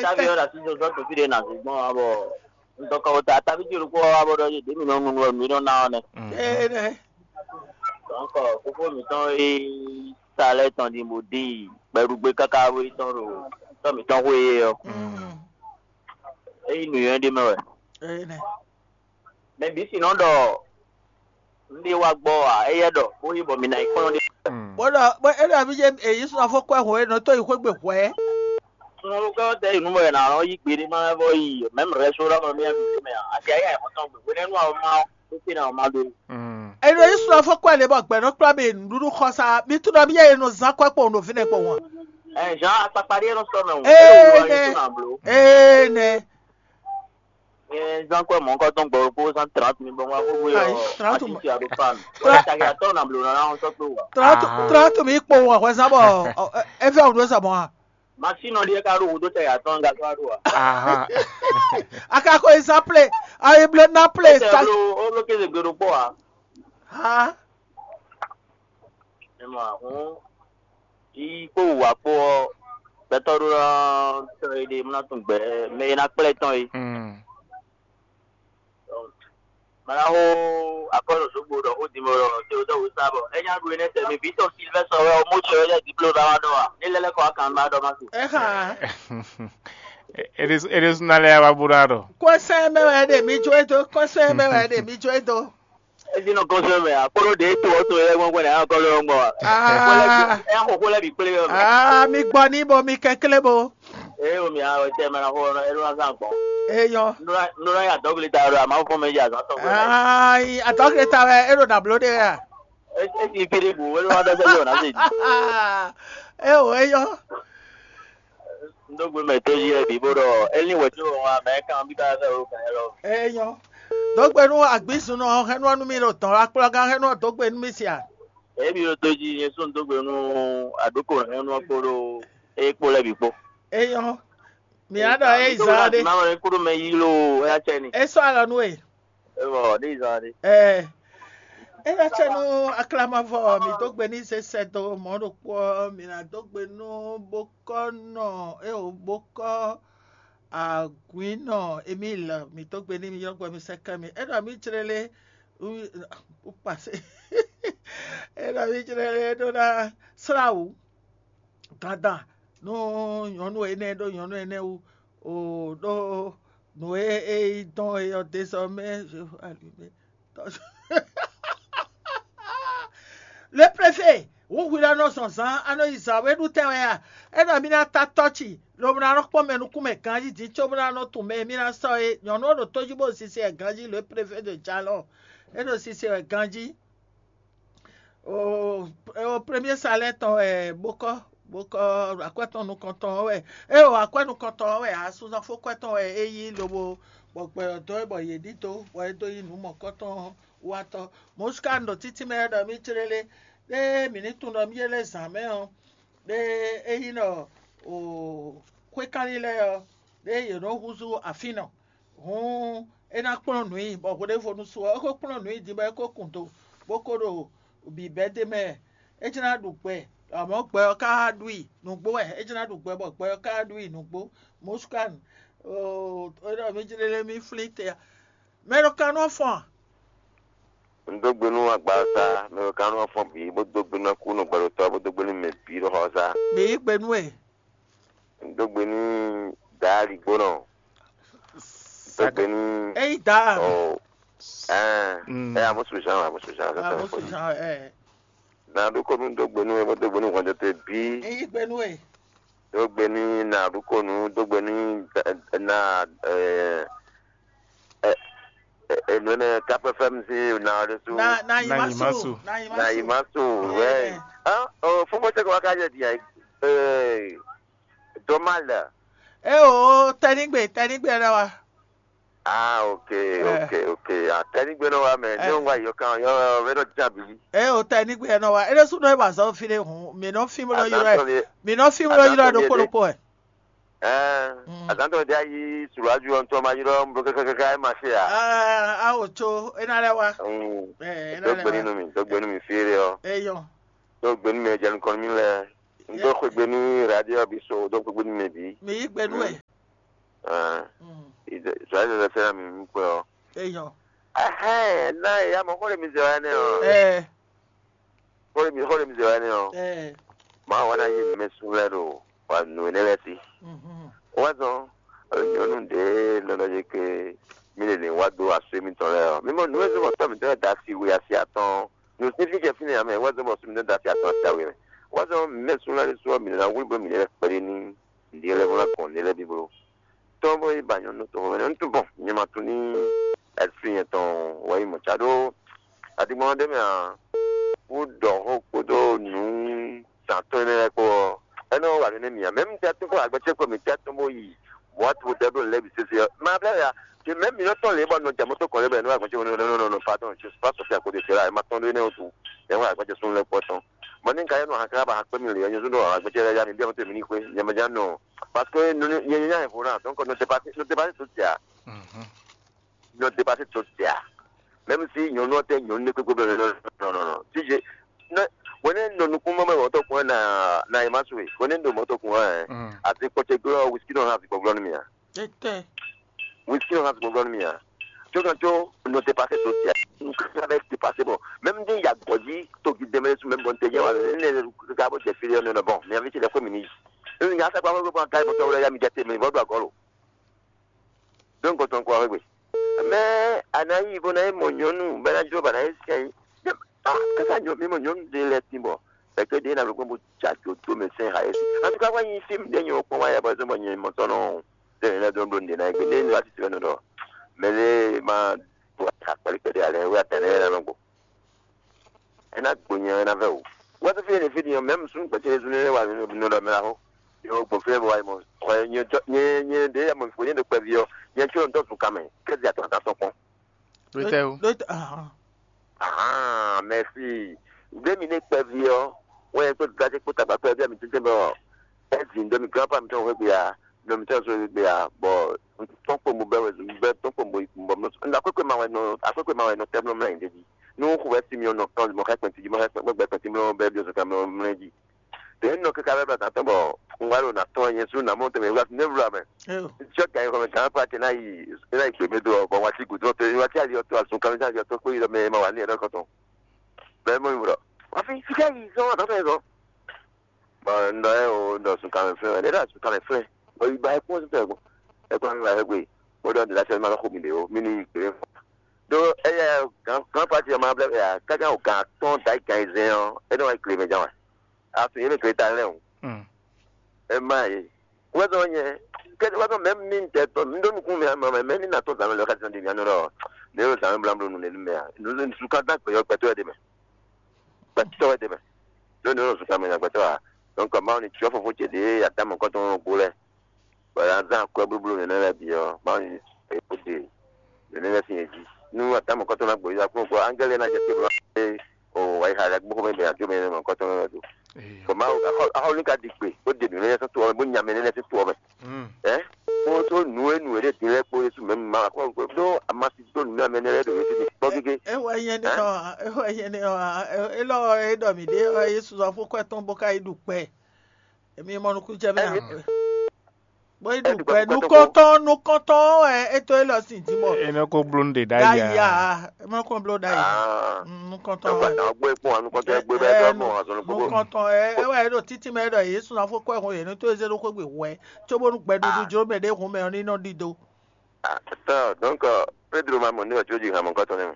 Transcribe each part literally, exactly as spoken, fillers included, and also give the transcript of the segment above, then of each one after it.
Tavi ɔ́ ɖo así zɔzɔ to fí ɖé nǎ zé gbɔn ɔ́, bɔ un dɔ kɔ ta taví ce ɖokpó ɔ́ wá bɔ ɖɔ yě ɖě mǐ nɔ nu nú wɛ mǐ nɔ ná ɔ́ nɛ́. Ee nɛ́. Donc, fofó mǐtɔn e sa lɛ́ɛ tɔn ɖi bó ɖi gbɛɖugbe káká bó yi tɔn ɖo tɔ́ mǐtɔn xwé é ɔ́, é yi nǔnywɛ́ ɖé mɛ wɛ. Ee nɛ́. Mɛ bǐ sin nɔ ɖɔ un ɖe wá gbɔ ǎ, éyɛ́ ɖɔ bó yi bɔ mǐ ná yi kplɔ́n ɖé. Bó ɖɔ bó é ɖɔ mí jɛ èyí sún afɔ kɔ ẹ̀hún e nɔ tó yi xwé gbe hwɛ̌. Sunɔlukɛ ɔ́ tɛ yi nú mɛ ná nɔ yí gbe ɖé ma vɔ yi mɛ̌m rɛ́ só ɖɔ mɛ mí mɛ ǎ. Asi ayé ayé mɔtɔn gbe hwenɛ́nu ɔ́ ma ɖó tɛ́ ná ma ɖó. È nɔ yí sun afɔ kɔ ɛ lě bɔ gbɛ̌ nɔ kplɔ́ mì nǔɖuɖu xɔsa, mi tunɔ mi yɛ è nɔ zán kɔ ɛ kpɔn ɖo fínɛ́ kpɔn wan. Ɛ Jean akpakpa ɖé nɔ sɔ mɛ o. Ee nɛ. Ee nɛ. Ɛ zán kɔ ɛ mɔ̌ kɔ tɔn gbɔ kó zán trente mi bɔ ma xó wé ɔ. Trente. Asi a ɖo fan. Kɔ ɛ tagi atɔ na blo na na sɔ kpé wa. Trente mi kpɔn wɔ hwɛ zán bɔ ɛ fɛ wǔ ɖó sa mɔ a. Masínɔ ɖíe ká ɖo wúdó tɛ yatɔ́ gazɔ ɖo a? Aha. Aka ko yi sa ple, ayi ble na ple. Tɛ sa. Blo o blo kéze gbe ɖokpó a? Ha. Ẹ mɔ ahun yi kpó wǔwá kpó ɔ, gbɛtɔ́ ɖó ná tɔn e ɖe mú ná tún gbɛ mɛ e ná kplá ɛ tɔn e. Mm. Mɛ ná xó akɔ́lɔ zǒgbo ɖɔ xó din bɔ ɖɔ Teodoro wú sá bɔ é nya ɖu énɛ́ tɛ mi vǐ tɔn Silvɛ́sɔ wɛ ɔ́ mó tsɔ é lɛ́ diplôme ná wá ɖɔ a? Ní lɛ́ lɛ́ kɔ wá kan bá ɖɔ má se. Ɛ hàn. Eɖésúná lɛ́ɛ wá bó ná ɖɔ. Kɔsɛn mɛ wɛ ɖe mi jó e dó, kɔsɛn mɛ wɛ ɖe mi jó e dó. É dín nɔ kɔsɛn mɛ a? Kpódó ɖě to ɔ́ to é lɛ́ɛ gbɔn gbɔn ɖě a nɔ kɔsɛn gbɔn a? Aa. Ɛ xo xó lɛ́ɛ bǐ kplé ɔ́ mɛ. Aa, mi gbɔ ní bo mi kɛnklɛ́n bo. Eye o mi a wɛ tɛ mɛ na xo ɔ́ é ló ná zán gbɔn. Eyɔ. Nú ná ya dɔgble ta ɖo a ma fɔ mɛ dzi azán tɔgble. Aa, atɔgble ta wɛ é ɖo nǎ bló ɖe wɛ a? É é ti fi ɖé bu é ló ná dɔgble yɔ ná se dzi. É o eyɔ. Ndógbe mɛ tó yí ɛ bǐ bó ɖɔ é lín wɛ̌ tó wɔn wá mɛ é kan bíbá fɛ o kan ɛ lɔ. Eyɔ. Dógbe nú agbísúnɔ hɛnú ɔ́ nú mi ɖo dɔ̌n akplɔ́gán hɛnú ɔ́ dógbe nú mi sia. Ě bǐ ɖo tó jí nyɛ sún dógbe nú aɖókò hɛnú ɔ́ kpódó é kpó lɛ́ɛ bǐ kpó. Eyɔ. Mǐ á ɖɔ é yi zán ɖé. Má wɛ kúɖó mɛ yí ló é á cɛ ni. É sɔ́ alɔ nú we. É bɔ ní yi zán ɖé. Ɛɛ. É ná cɛ nú aklamavɔ mǐ dó gbe ní zé sɛdo mɔ̌ ɖokpó ɔ́, mǐ ná dó gbe nú bókɔ́nɔ eo bókɔ́ Aguinnɔ Emile mǐ dó gbe ní mì ylɔ́ gbɔ mì sɛkɛ mì. É ɖɔ mǐ jlé lé wú pasé. É ɖɔ mǐ jlé lé ɖó ná slá wǔ dandan nú nyɔ̌nu énɛ́ ɖó nyɔ̌nu énɛ́ wú o ɖó nǔ e é yi dɔn é ɔ́ désormais je vois allumé. Le préfet, wǔ hwi lɔ nɔ zɔn zǎn a nɔ yi zǎn wé ɖu tɛn wɛ a? É ɖɔ mì ná ta tɔ́ ci lobo ná nɔ kpɔ́n mɛ nukúnmɛ ganjí dín cóbó ná nɔ tunwun mɛ e mì ná sɔ́ é. Nyɔ̌nu ɔ́ ɖo tó jí bó sise wɛ ganjí le préfet de jalɔn. É ɖo sise wɛ ganjí. O o premier salaire tɔn wɛ bókɔ bókɔ akwɛ́ tɔn nukɔntɔn ɔ́ wɛ é o akwɛ́ nukɔntɔn ɔ́ wɛ asúzɔ́fó kwɛ́ tɔn wɛ é yí lobo bɔ gbɛ ɔ́ dɔn é bɔ yě ɖidó bɔ é dó nyí nǔ mɔ̌kɔtɔn watɔ́. Mɔ̌ ká un ɖo títí mɛ ɖɔ mì clélé ɖé mǐ ní tunwun ɖɔ mì é lɛ́ zǎn mɛ ɔ́ ɖé é nyí ɖɔ o xwékánní lɛ́ɛ ɔ́ ɖé yě nɔ húzú afínnɔ. Hǔn é ná kplɔ́n nǔ i, bɔ hweɖěvonu su ɔ́, é ko kplɔ́n nǔ i din bɔ é ko kun do, bó ko ɖo bǐbɛ́ d'é mɛ. É jló ná ɖu gbɛ, amɔ̌ gbɛ ɔ́ ka ɖu i nǔgbó wɛ. É jló ná ɖu gbɛ bɔ gbɛ ɔ́ ka ɖu i nǔgbó. Moskan, oo, é ɖɔ mí jlé lé mí flín te a. Mɛ ɖo kan nú ɔ́ fɔ́n a? Un dó gbe nú agbaza, mɛ ɖo kan nú ɔ́ fɔ́n bǐ, bó dó gbe nú akúnɔ gbɛɖotɔ́, bó dó gbe nú mɛ bǐ ɖo xɔza. Mǐ yí gbe nú we. Un dó gbe nú Daali gbónɔ. Dó gbe nú Eyi da. Ɔ, ɛn, Mm. ɛ, amusu Jean, amusu Jean, sɔsɔ Amusu fɔ. Jean ɛ. Na ɖokɔ nú dó gbe nú ɛ, bó dó gbe nú hɔnjɔtɔ bí. Eyi gbe nú ɛ. Dó gbe nú na ɖokɔ nú, dó gbe nú da- na ɛ ɛ ɛ nú ɛnɛ Cap F M si na ɖe su. Na na Na yi ma yi ma su. Su. Na yi ma Na su. Imasu, Ɛ. Wɛ. Ah, oh, fɔmɔ tɛ ko wá ká yɛ dia. Eh, Domal. E o tɛnigbe tɛnigbe ɖe wa. Ah, ok, Ɛ. Ok, ok. Ah, tɛnigbe nɔ wa mɛ. Ɛ. Nyɔnu wa yɔ kan yɔ wɛ nɔ jabi. E o tɛnigbe nɔ wa. Ele su nɔ e ba zɔ fi de hun. Mi nɔ fi mo nɔ yɔrɔ. Azantɔ de. Mi nɔ fi mo nɔ yɔrɔ Azantɔ do de. Kolo ko ɛ. Ɛɛ, Mm. Azantɔ de ayi sulaju ɔn tɔ ma yɔrɔ mo kaka kaka e ma se ya. Ah, awo tso ena lɛ wa. Mm. Ɛ ena Dɔ lɛ gbɛni wa. Nu mi, dɔ gbɛni mi feere ɔ. Eyɔ. Dɔ gbɛni mi jɛnu kɔn mi lɛ. N dɔ xwe gbɛni radio bi so, dɔ xwe gbɛni mi bi. Mi yi gbɛnu ɛ. Israɛli lɛ́ fɛ́n ná mi nú kpɛ́ ɔ́. Eyɔ. Ɛhɛn, ná ya mɔ xó ɖé mi zɛ wá nɛ́ ɔ́. Ɛ. Xó ɖé mi xó ɖé mi zɛ wá nɛ́ ɔ́. Ɛ. Má wa ná yí mɛ sún lɛ́ɛ ɖo wa nǔ énɛ́ lɛ́ɛ sí. Mhm. Wá zɔn nyɔ̌nu ɖě nɔ ɖɔ yě ke mí lě lě wá dó asú émítɔn lɛ́ɛ ɔ́. Mi mɔ nǔ e zɔ́n bɔ tɔ́ mǐtɔn lɛ́ɛ da asi we asi atɔn ɔ́. Nǔ sín fí jɛ fínɛ́ ǎ mɛ, wá zɔ́n bɔ asú mǐtɔn da asi atɔn asi awe mɛ. Wá zɔ́n mɛ sún lɛ́ɛ ɖésú ɔ́, mǐ lɛ́ ná wlí bó mǐ lɛ́ kpɛɖé ní nǔɖé lɛ́ɛ bó ná gbɔn nǔɖé lɛ́ɛ bǐ bló. Tɔ́ bó yi ba nyɔ̌nu tɔn mɛ nú tún bɔn nyɛ ma tunwun ní ɛ́sú nyɛ tɔn wɛ yi mɔ̌ cá ɖó adigbɔn ɖé mɛ ǎ. Wú ɖɔ xó kpódó nǔ zǎn tɔn énɛ́ lɛ́ɛ kpó ɔ́, é nɔ wa nú nɛ́ mì ǎ. Mɛ̌ mi tɛ́ tún kpó agbɛ́ ce kpó mi tɛ́ tún bó yi mɔ̌ to dɛ́ bló lɛ́ bǐ sésé ɔ́, ma blɛ́ ya. Te mɛ̌ mi nɔ tɔn lě bɔ nɔ jɛ mɔ̌ tɔn kɔn lɛ́ bɔ nɔ agbɛ́ ce nɔ nɔ nɔ pardon, je suis pas sorti à côté de cela, ɛ ma tɔn ɖó énɛ́ wútu, ɛ wá agbɛ́ ce súnnu lɛ́ɛ kpó tɔn. Mɔ ní ka yɛ nɔ ahan kára ba ahan kpé mi lě ɔ́, nyɛ zún ɖɔ agbɛ́ ce lɛ́ɛ ya mi bíá mɔ̌ to mi ní xwé, nyɛ ma já nɔ. Parce que nyɛ nyɛ nyɛ vo na, donc ne t'es pas ne t'es pas tout ça. Ne t'es pas tout ça. Même si nyɔ̌nu ɔ́ tɛ nyɔ̌nu ne kpékpé bɛ non non non non. Si je ne wɛnɛ nɔ nukúnmɔ mɛ wɔtɔ kun na na ye ma su ye wɛnɛ nɔ mɔtɔ kun hã ɛ. Ati kpɔtsɛ glɔ whisky nɔ hã fi gbɔgbɔ nú mi a. Tete. Whisky nɔ hã fi gbɔgbɔ nú mi a. Tso kan tso ne t'es pas tout ça. Nous avons été passé bon. Même des ya gɔdzi to gi dɛmɛ su même bon te ya wa ne ka bo jɛ fili ne bon. Mais avec les communistes. Nous ya sa kwa ko ka mo to ya mi jate mi vodo agolo. Ɖó un ko tɔn kɔ ɔ́ gbe. Mɛ a nǎ yi bó ná yi mɔ nyɔ̌nu bɔ é ná jló bɔ a nǎ yi sɛn yi. Káká nyɔ mi mɔ nyɔ̌nu ɖé lɛ́ɛ tín bɔ bɛ̌kɛ́ ɖé ná ló gbɔn bó jɛ ajǒ dó mɛ sɛn ha é sí. Atuka wá nyi fí mi ɖé nyɔ kpɔ́n wá ya bɔ é zɔ́n bɔ nyɛ mɔ tɔn nɔ ɖé lɛ́ɛ dɔn bló nǔɖé ná yi gbe ɖé ní wá titun nɔ ɖɔ mɛ lé ma ɖo akpɛ́lí kpɛɖé alɛ wé adǎn lɛ́ɛ ná nɔ gbo. É ná gbo nyɛ ɔ́, é ná vɛ́ wǔ. Wá tó fí e fí din ɔ́, mɛ̌ mǔsúnú kpɛ́ ce Jezu nɛ́ wa nǔ nɔ ɖɔ mɛ axó. Yě wɔ gbɔn fínɛ́ bɔ wá yi mɔ xɔ nyɛ jɔ nyɛ nyɛ ɖě yɛ mɔ fífo nyɛ ɖo kpɛví ɔ́, nyɛ cí ɔ́ un dɔ́ zun kamɛ kɛ́ zia tɔn atán tɔn kpɔn. Ɖó tɛ o. Ɖó tɛ ahan. Ahan, mɛsi. Ɖé mi ní kpɛví ɔ́, wọ́n yɛ kpé gíga ce kpó tagba kpɛví ɔ́ mi tɛ́ntɛ́n bɔ ɛ zǐn ɖɔ mi granpa mitɔn hwegbe a, ɖɔ mitɔn sɔ́ hwegbe a, bɔ tɔn kpo mo bɛ wɛ bɛ tɔn kpo mo yi bɔ mo ɖo akwékwe ma wɛ nɔ akwékwe ma wɛ nɔ tɛ blɔ mlɛ ɖe jí. Nú xu wɛ si mi ɔ́ nɔ kán mɔ xɛ kpɛn ti jí mɔ xɛ kpɛn gbɛ kpɛn ti mlɔ bɛ ɖo zɔn kan mlɔ mlɛ jí. Ɖě nɔ kɛká bɛ bla tán tɔn bɔ un wá ɖo nǎ tɔn nyɛ sú nǎ mɔ tɛnmɛ wúlá nɛ́ vla mɛ. Jɔ gǎn yɛ xɔmɛ gǎn kpla tɛ ná yi ná yi gběmɛ dó ɔ bɔ wá sí gǔdo tɔ wá sí ali ɔtɔ azun kan sí ali ɔtɔ kpé yi ɖɔ mɛ ma wà ní ɛɖɔ kɔtɔn. Bɛɛ mɔ mi ɖɔ wá fi fi ká yi zɔn àtɔtɔ yɛ zɔn. Bɔ un ɖɔ ɛ o un ɖɔ sun kan mɛ flɛ ne ɖɔ sun kan mɛ flɛ bɔ yi ba ɛ kpɔn sɔtɔ ɛ kpɔn ɛ kpɔn mi ba ɛ gbe bó ɖɔ un ɖe la sɛ ma lɔ xo mi ɖe o mi ní yi gbě. Ɖó ɛ yɛ gǎn gǎn pati ɔ́ ma blɛ ɛ káká o gǎn atɔ́ɔ́n da yi gǎn yi zɛn ɔ́ é nɔ wá yi gle mɛ ján wɛ. A sɔn yě mɛ gleta lɛ́ɛ o. Ɛ má yě. Wɛ́zɔn nyɛ kɛ́ɖɛ́ wɛ́zɔn mɛ̌ mi tɛ tɔn mi ɖó nukún mɛ mɛ mɛ ní natɔ zǎn mɛ lɔ ká zɔn ɖi mi anɔ ɖɔ. Nɛ yóò zǎn mɛ blanblo nǔ nɛnu mɛ a nǔ nǔsúká dán gbɛ̌yɔ́ gbɛtɔ́ wɛ ɖe mɛ. Gbɛtɔ́ wɛ ɖe mɛ. Ɖó nǔ nɔ zǔká mɛ nya gbɛtɔ́ a. Donc Mawu ni tsyɔ fofo ce ɖě Adamu kɔn tɔn nɔ gbo lɛ. Bɔ yě ná zán akwɛ́ blóbló nɛnɛ́ lɛ́ɛ bǐ ɔ́, Mawu ni è ko ɖe nɛnɛ́ lɛ́ɛ sín yě jí. Nú Adamu kɔn tɔn ná gbo yíyá kpɔ́n kpɔ́n, angɛ́lɛ ná jɛ te bló ɔ́, o wǎ yi xa lɛ́ɛ gbó xomɛ bɛ ado mɛ mɛ kɔn tɔn lɛ́ɛ do. Bɔ Mawu axɔ́ axɔ́ ní ka ɖi gbe bó ɖe nǔ énɛ́ sín to ɔ́ mɛ bó nya mɛ énɛ́ sín to ɔ́ mɛ. Ɛ kpódó nǔ e nǔ e ɖe din lɛ́ɛ kpó Yésu mɛ ma kpɔ́ ɖó amasi dó nǔ mɛ énɛ́ lɛ́ɛ ɖo Yésu jí kpɔ́ gégé. É wɛ nyɛ ní ɔ, é wɛ nyɛ ní ɔ, élɔ́ e ɖɔ mǐ ɖe ɔ́, Yésu zɔn fó kwɛ́ tɔn bó ká yi ɖu kpɛ. Èmi mɔ nukún jɛ mɛ. Bó yi ɖu kpɛ nukɔntɔn nukɔntɔn wɛ é tó élɔ́ sin jí mɔ. É nɔ ko bló nu ɖe ɖ'ayǐ ya. É nɔ ko bló ɖ'ayǐ. Nukɔntɔn wɛ. Nukɔntɔn ɛ é wɛ é ɖo títí mɛ é ɖɔ Yésu ná fó kwɛ́ hun yě ní tó é zé ɖó xwé gbe hwɛ. Cóbónú gbɛɖuɖu jló mɛ ɖé hun mɛ ɔ́ ní nɔ ɖidó. Atɔ donc Pedro ma mɔ ní wɛ tó jí hàn mɔ kɔtɔ nɛ.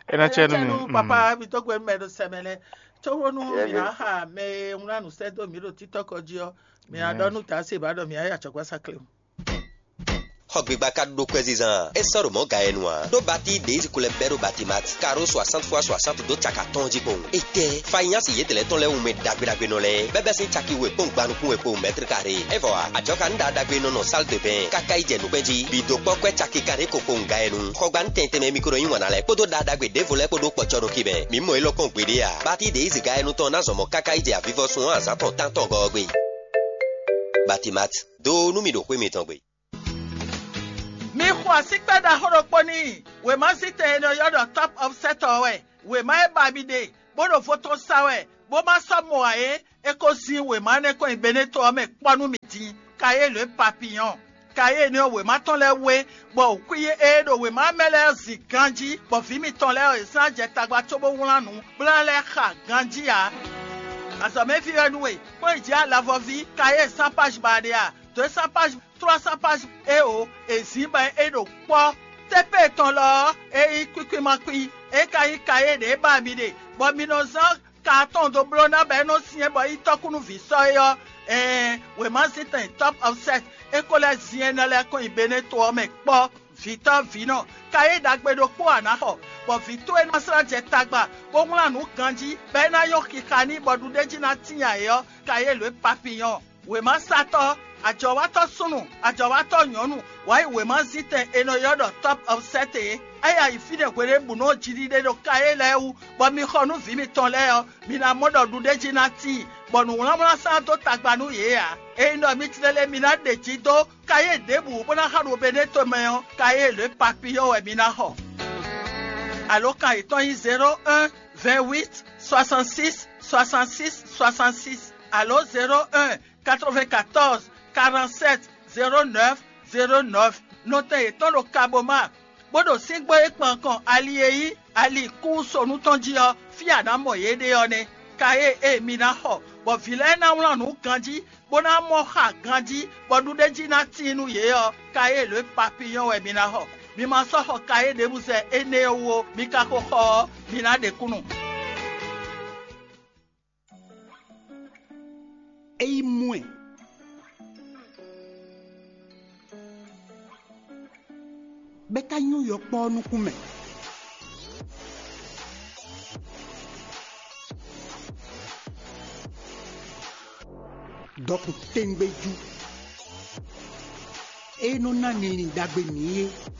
É ná cɛ nú mi. Papa mi tó gbé mɛ ɖo sɛmɛ lɛ. Cóbónú mi ná xa mɛ e wlán nǔ sɛ́ dó mi ɖo títɔ́ kɔ jí ɔ́, mi ná ɖɔ nú ta se ba ɖɔ mi á yi acɔkpá sá klé mu. Xɔgbigba ka ɖo kwɛzizan, é sɔ́ ɖo mɔ̌ ga yɛ nu ǎ. Ɖó batí ɖě yi kulɛ bɛ́ ɖo Batimat, karo soixante fois soixante dó caka tɔn jí kpowun. Étɛ́, fanyási yědɛɛ tɔn lɛ́ɛ wú mɛ ɖagbe ɖagbe nɔ lɛ́ɛ, bɛ́ bɛ́ sín caki we kpɔ́n gbanukún we kpowun mɛ́tr karé. É vɔ ǎ, ajɔ ka nú ɖa ɖagbe nɔ nɔ sál de bɛn, káká yi jɛ nǔkpɛ́n jí, bǐ dó kpɔ́ kwɛ́ caki karé ko kpowun ga yɛ nu. Xɔgban tɛn tɛnmɛ mikro yí wǎn ná lɛ́ɛ kpódó ɖa ɖagbe ɖěvo lɛ́ɛ kpó ɖó kpɔ́ cɔ́ nukí mɛ. Mǐ mɔ élɔ́ kpɔ́n gbeɖé ǎ. Batí ɖě yi zǐga yɛ nu tɔn ná zɔn mɔ̌ káká yi jɛ avivɔsun ɔ́ azǎn tɔn tántɔn gɔ́ ɔ́ gbe. Batimat, dó nú mì ɖo xwé mitɔn gbe. Mi xo asíkpɛ́ ɖaxó ɖokpó n'i. Wěma zítɛn e nɔ ylɔ́ ɖɔ Top of Set ɔ́ wɛ. Wěma e ba mi ɖe, bó ɖo vo tɔn sa wɛ, bó ma sɔ́ mɔ ǎ é. É ko zín wěma énɛ́ kɔn nyi Beneto ɔ́ mɛ kpɔ́ nú mì din, Kayélu e papiyɔn. Kayélu ɔ́, wěma tɔn lɛ́ɛ wé, bɔ wǔkwín e ɖo wěma mɛ lɛ́ɛ zin ganjí, bɔ vǐ mitɔn lɛ́ɛ ɔ́, è zán jɛ tagba cóbó wlán nǔ, bó ná lɛ́ xa ganjí ǎ. Azɔ̌mɛví wɛ nú we, kpɔ́n yi jǐ alavɔví, Kayélu sán páj ba ɖe a? Dǒ e sán páj, tlɔ́ sán páj, éeǒ, è zǐn bɔ é ɖo kpɔ́. Tépée tɔn lɔ ɔ́, é nyí kwíkwímákwí, é ka nyí Kayélu e ba mi ɖe, bɔ mi nɔ zán ka atɔn dó bló ná bɔ é nɔ syɛ́n bɔ é nyí tɔ́kúnúví sɔ́ é ɔ́, ɛɛn, wěmazíntɛn Top of Set é ko lɛ́ zin énɛ́ lɛ́ɛ kɔn nyi Beneto ɔ́ mɛ kpɔ́. Vǐtɔ́ vǐnɔ, ka yí ɖagbe ɖokpó ǎ ná xɔ, bɔ vǐ towe ná slá jɛ tagba, bó wlán nǔ ganjí, bɔ é ná nyɔ́ xixa n'i bɔ ɖuɖéjí ná tíin ǎ é ɔ́, ka yí lǒ e papiyɔn. Wěmasatɔ́, ajɔ̌wátɔ́ súnnu, ajɔ̌wátɔ́ nyɔ̌nu, wǎ yi wěmazíntɛn è nɔ ylɔ́ ɖɔ Top of Set é. É yi ayǐ fínɛ́ hweɖěbǔnu ɔ́ jiɖiɖe ɖo Kayé lɛ́ɛ wú, bɔ mi xɔ nú vǐ mitɔn lɛ́ɛ ɔ́, mi ná mɔ ɖɔ ɖuɖéjí ná tíin, bɔ nǔwlánwlán sán dó tagba nú yě ǎ. Ényí ɖɔ mi tlɛ lɛ́ɛ mi ná ɖe jǐ dó Kayé ɖěbǔ bó ná xa ɖo Beneto mɛ ɔ́, Kayé lě papiyɔ́ wɛ mi ná xɔ. Alo kan yětɔn nyí zéro un, vingt huit, soixante six, soixante six, soixante six, alo zéro un, quatre vingt quatorze, quarante sept, zéro neuf, zéro neuf. Nɔtɛn yětɔn ɖo Kaboma, bó ɖo síngbó e kpan kɔn ali e nyí ali kúsonu tɔn jí ɔ́, fí a nǎ mɔ yě ɖe ɔ́ nɛ́. Ka e e mi ná xɔ, bɔ vǐ lɛ́ɛ ná wlán nǔ ganjí, bó ná mɔ xa ganjí, bɔ ɖuɖéjí ná tíin nú yě ɔ́, ka e lǒ e papiyɔ́n wɛ mi ná xɔ. Mi ma sɔ́ xɔ ka e ɖěbǔ zɛ énɛ́ ɔ́ wú ó, mi ka ko xɔ ɔ́, mi ná ɖe kúnnu. É yi mɔ ɛ, bɔ é ka nyɔ́ yɔkpɔ́ ɔ́ nukún mɛ. Dɔkun tɛ́ngbɛ́jú, é nɔ ná linlin ɖagbe mǐ é.